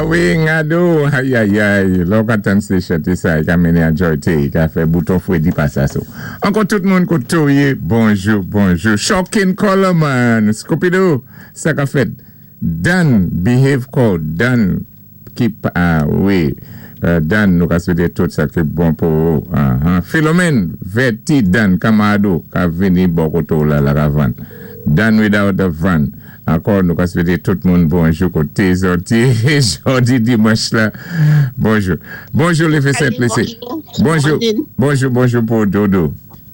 A wi, ngado, ayayay, lò ka tann sé chanté sa, i ka mennen enjoy te, i ka fè bouton fwédi pasa so. Ankò tout moun koté ou yé, bonjou, bonjou. Shocking Coleman, Scooby-Doo, sa ka fèt. Dan, behave call, Dan, keep, ah, wi, Dan, nou ka swété tout sa ki bon pou ou. Philomène, vèti Dan, kanmarad ou, ka vini bò koté ou la la kavan. Dan without the van. Ankò nou ka swété tout moun bonjou koté zòt yé jòdi dimanch la. Bonjou. Bonjou Lefe Saint-Lucie. Bonjou. Bonjou, bonjou pou Dodo.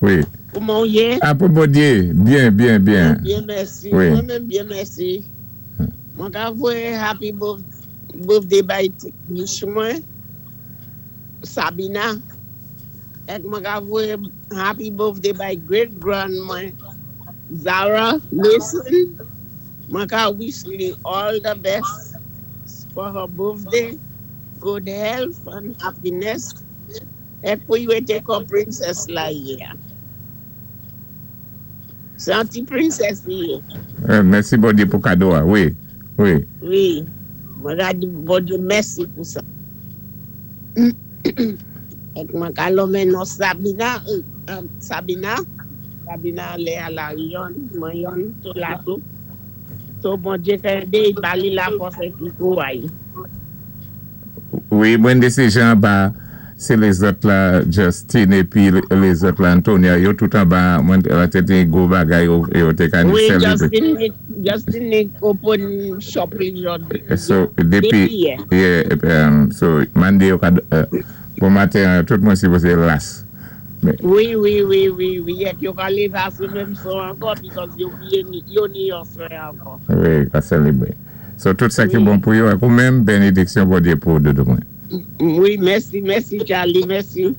Wi. Kouman ou yé? A pou Bondye, byen, byen, byen. Byen, mèsi. Wi. Mwen menm byen, mèsi. Mwen ka voyé happy birthday bay niece mwen, Sabina. Èk mwen ka voyé happy birthday bay great grand mwen, Zara Mason. Mwen ka wish li all the best for her birthday, good health and happiness. Èk pou i wété kon princess la yé. Sé an ti princess li yé. Mèsi Bondye pou kado a, wi. Wi, mwen ka di Bondye mèsi pou sa. Èk mwen ka lonmen non Sabina, Sabina, Sabina lè a la yon, mwen yon tou la tou. So Bondye fè de ba li la fòs ki kouray. Wi, mwen de sé jan ba, sé lézòt la Justin épi lézòt la Antonia, yo tout anba, mwen la té té gwo bagay yo, yo té ka ni Wi, sélébwé. Justin ni open shop li jòdi. So, dépi, Dépi yè. Yeah, so, mande yo ka, bon maten, tout moun sipozé las. Mais, Wi, èk yo ka lévé aswè menm so ankò because yo byen, yo ni aswè ankò. Wi, ka sélébwé. So, tout sa ki Wi. Bon pou yo, èk ou menm, bénédiksyon Bondye pou dodo mwen. Wi, mèsi, mèsi Charlie, mèsi.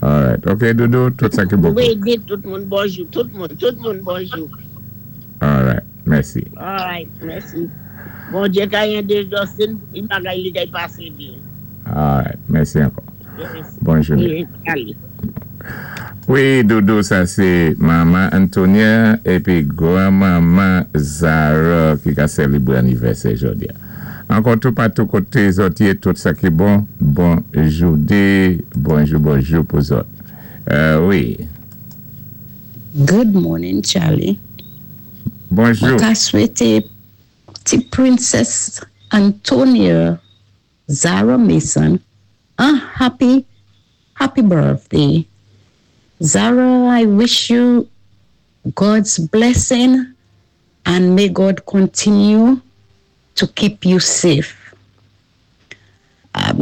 Alright, ok Dodo, tout sa ki bon pou. Wi, di tout moun bonjou, tout moun bonjou. Alright, mèsi. Alright, mèsi. Bondye ka édé Justin, i bagay li kay pasé byen. Alright, mèsi ankò. Yes. Bonjou. Wi, Charlie. Wi, Dodo, sa sé manman Antonia épi granmanman Zara ki ka sélébwé anivèsè jòdi a. Ankò tout patou koté zòt yé, tout sa ki bon, bonjou dé, bonjou, bonjou pou zòt. Wi. Good morning, Charlie. Bonjou. Mwen ka swété ti princess Antonia Zara Mason a happy, happy birthday. Zara, I wish you God's blessing and may God continue to keep you safe.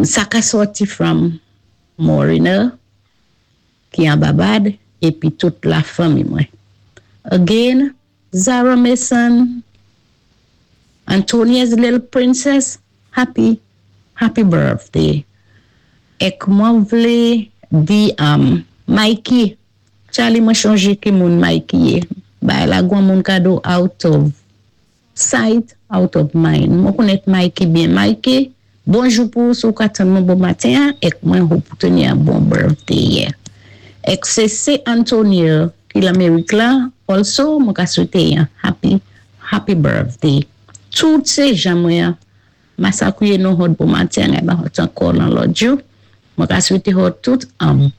Sa ka sòti from Morina, ki an Babad, épi tout la fanmi mwen. Again, Zara Mason, Antonia's little princess, happy, happy birthday. Èk mwen vlé di Mikey, Charlie, mwen chonjé ki moun Mikey yé. Bay la gwan moun kado out of sight, out of mind. Mwen konnèt Mikey byen. Mikey, bonjou pou sou ka tann mwen bon maten, èk mwen hope pou teni an bon birthday yè. Èk sé sé Antonio ki l'Amérik la, also mwen ka swété an happy, happy birthday. Tout sé jan mwen masakouye nou hot bon maten, e ba hot ankò lan lòt jou. Mwen ka swété hot tout an bon.